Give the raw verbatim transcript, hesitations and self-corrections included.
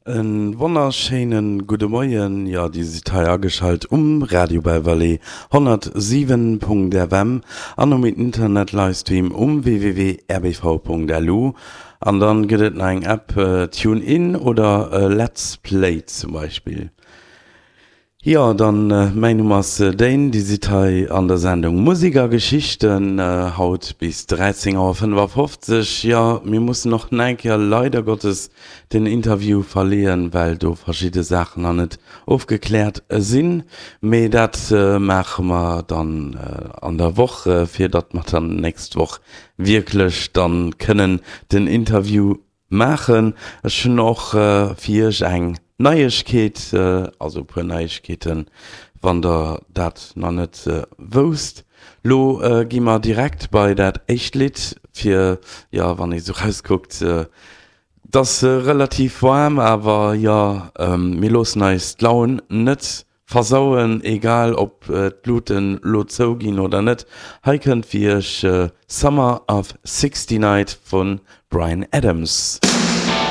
E wonnerschéine gudde Moien, jo dir sidd hei ageschalt um Radio Belle-Vallée honnertsiwen Punkt F M an um Internet Livestream um W W W Punkt R B V Punkt L U an dann gëtt et nach eng App, TuneIn oder Let's Play zum Beispill. Jo, dann mäin Numm ass Dane, Dir sidd hei an der Sendung Musik a Geschichten, haut bis dräizéng Auer fënnefafofzeg. Jo, mir mussen och nach eng Kéier leider Gottes den Interview verleeën, well do verschidde Saachen nach net ofgekläert sinn. Mee dat maache mer dann an der Woch, fir datt mer dann nächst Woch wierklech dann kënnen den Interview maachen. Ech hunn och fir iech eng Neiegkeet, also e puer Neiegkeeten, wann der dat nach net wousst. Lo gi mer direkt bei dat éischt Lidd fir, jo, wann ee sou rauskuckt, et ass relativ waarm, awer jo, mir loossen eis d'Laun net versauen, egal ob d'Luuten lo zou ginn oder net. Hei kënnt fir iech Summer of sixty-nine vun Bryan Adams.